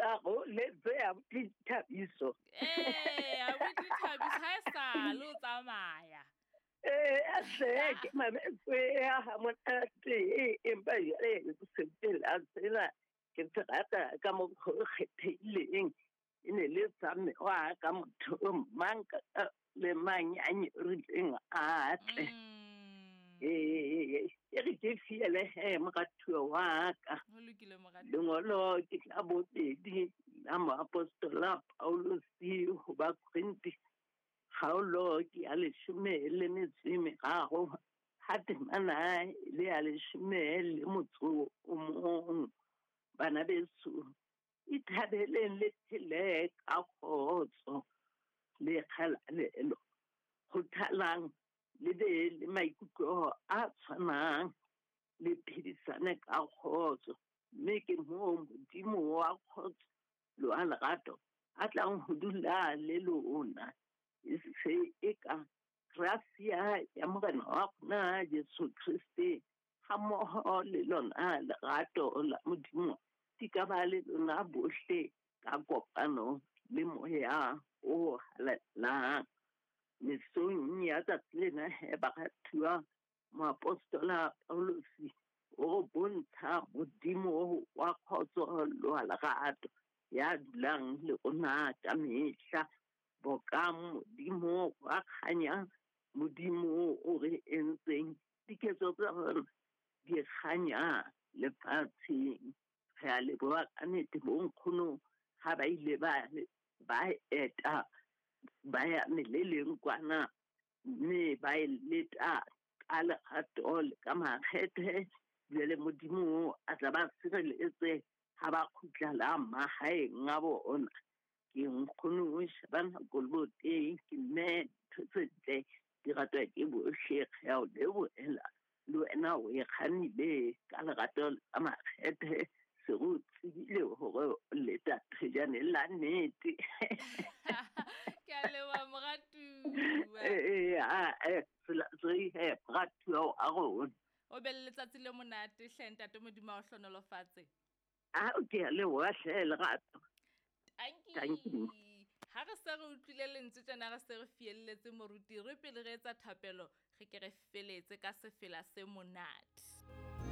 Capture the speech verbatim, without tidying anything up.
tla go letse abuti Thabiso. Ee, abuti Thabiso ha e sale o tsamaya. Ee, a hle ke mametse ya ha monate, empa jwale sefela sena ke se rata ka mokgwa o kgethehileng. E ne le sa mme wa ka motho mang le mang ya nyorileng a tle. Ee, e re ke fiele he moratuwa wa ka. Ho lokile moratuwa. Lengolo ke la bobedi la moapostola Paulus ho Bakorinthe, kgaolo ke ya leshome le metso e meraro, ha temana e le ya leshome le motso o mong. Bana beso, ithabeleng le phele ka kgotso le kgalalelo, kgothalang le be le maikutlo a tshwanang, le phedisane ka kgotso, mme ke moo Modimo wa kgotso le wa lerato a tlang ho dula le lona. E se eka gracia ya Morena wa rona Jesu Kriste hammoho le lona lerato la Modimo di ka ba le lona bohle ka kopano le Moya o Halalelang. Mesong ya tsatsi lena he baratuwa, moapostola Paulus o re bontsha Modimo wa kgotso le wa lerato ya dulang le rona ka mehla. Boka Modimo wa kganya, Modimo o re entseng diketso tsa rona di kganya lefatsheng. Re a leboha ka nnete bonkgono ha ba ile ba ba eta ba ya meleleng kwana, mme ba e leta ka lerato le ka makgethe. Jwale Modimo a tla ba sireletse ha ba kgutlela mahaeng a bona. Ke nkgono Shabana Koloboteng, ke mme ntho tse ntle di ratwa ke bohle. Re a o lebohela le wena o e kgannile ka lerato le ka makgethe. Se re o tsebile hore o leta thejane la nnete. Ke a leboha moratuwa. Ee, a e tsela tse he moratuwa wa rona. O be le letsatsi le monate hle ntate, Modimo a o hlohonolofatse. A ke a leboha hle lerato. Tanki. Tanki. Ha re se re utlwile lentswe tjena, re se re fielletse moruti, re pele re etsa thapelo, re ke re feletse ka sefela se monate.